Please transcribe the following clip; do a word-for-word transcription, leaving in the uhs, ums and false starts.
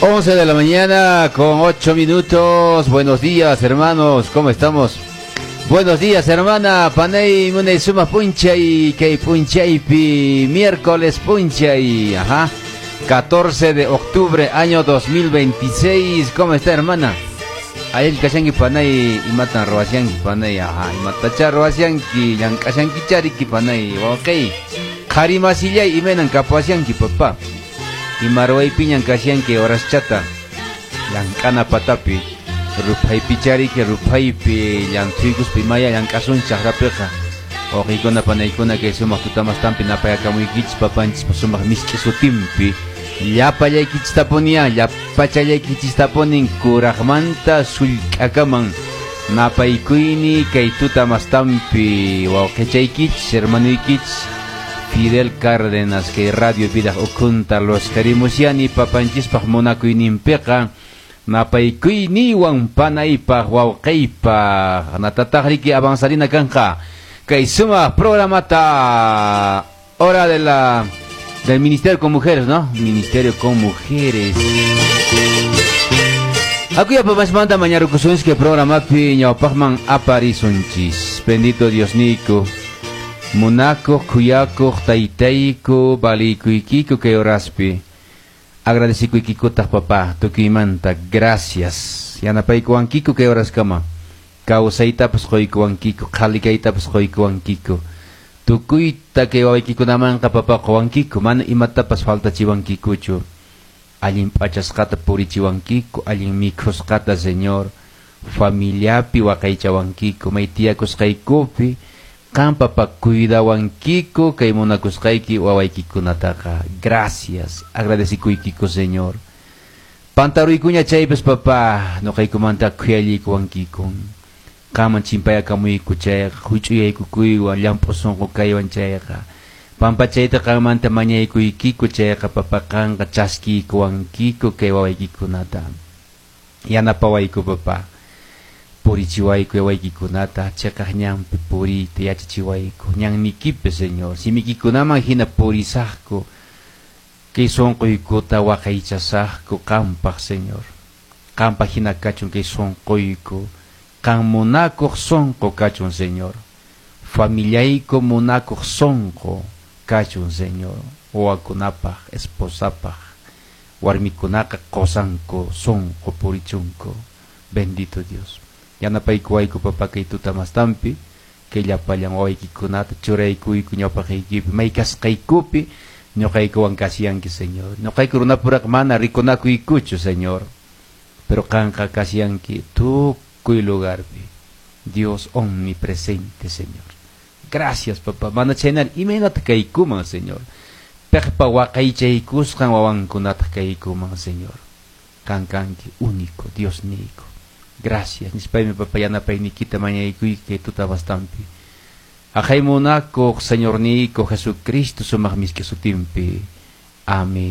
once de la mañana con ocho minutos. Buenos días, hermanos. ¿Cómo estamos? Buenos días, hermana. Panay munay sumaq p'unchay kay p'unchaypi miércoles p'unchay. Ajá. catorce de octubre, año dos mil veintiséis. ¿Cómo está, hermana? Allin kashanki, panay? Imatan ruwashanki, panay? Ajá. Imatacha ruwashanki, llank'ashankicha riki, panay? Ok. Qhari masillay, imaynan kapashanki, papá? Ima ruwaypiñan kashanki horaschata? Llank'ana patapi. Ruphaypicha riki, ruphaypi llanthuykuspa imaya llank'asunchik chakrapiqa. Wawqiykuna, panaykuna, kay sumaq tutamastanpi napayakamuykichis papanchispa sumaq misk'i sutinpi. Llapallaykichistapunia, llapachallaykichistapunin kuraqmanta sullk'akaman napaykuyni kay tutamastanpi, wawqichaykichis, hermanuykichis Fidel Cárdenas, kay Radio Vidaq ukhunta los karimusiani papanchispaq munakuyninpiqa napaykuyniwan panaypaq, wawqiypaq. Natataq riki avanzarina kanqa kay sumaq programata, hora de la del Ministerio con Mujeres, ¿no? Ministerio con Mujeres. Akuya papasmanta mañarukusunchis programapi ñawpaqman aparisunchis. Bendito Dios niyku. Munakuq, khuyakuq, taytayku, valikuykiyku kay horaspi. Agradecikuykikutaq, papá, tukuymanta. Gracias. Yanapaykuwankiku kay horaskama. Kawsaytapas quykuwankiku, qhali kaytapas quykuwankiku. Tukuyta kay wawaykikunamanqa, papá, quwankiku, mana imatapas faltachiwankikuchu. Allin p'achasqata purichiwankiku, allin mikhusqata, Señor. Familiapi waqaychawankiku, may tiyakusqaykupi qan, papá, cuidawankiku kay munakusqayki wawaykikunataqa. Gracias. Agradecikuykiku, Señor. Pantaruykuña chaypas, papá, nuqaykumanta khuyallikuwankiku. Qaman chimpayakamuyku chayqa, huch'uyaykukuywan, llamp'u sunqu kaywan chayqa. Pampachayta qanmanta mañaykuykiku chayqa, papá, qanqa chaskiykuwankiku kay wawaykikunata. Yanapawayku, papá. Purichiwayku wawaykikunata, chiqaq ñanpi puriyta yachachiwayku. Ñannikipi, Señor, simiykikunaman hina purisaqku. Kay sunquykuta waqaychasaqku qampaq, Señor. Qampaq hina kachun kay sunquyku. Qan munakuq sunqu kachun, Señor. Familiayku munakuq sunqu kachun, Señor. Wawakunapaq, esposapaq, warmikunaqa qosanku sunqu purichunku. Bendito Dios. Yanapaykuwayku, papá, kay tutamastanpi, kay llapallan wawaykikunata churaykuyku ñawpaqaykipi, may kasqaykupi ñuqaykuwan kasyanki, Señor. Ñuqayku runapuraq mana rikunakuykuchu, Señor. Pero qanqa kasyanki tukuy lugarpi. Dios omnipresente, Señor. Gracias, papá. Mana chhaynar imaynata kaykuman, Señor? Piqpa waqaychaykusqan wawankunata kaykuman, Señor? Qan kanki único Dios niyku. Gracias. Nispaymi, papá, yanapayniykita mañaykuyki tutabastampi. Aqhay munakuq Señor niyku Jesucristo sumaq miski sutinpi. Amén.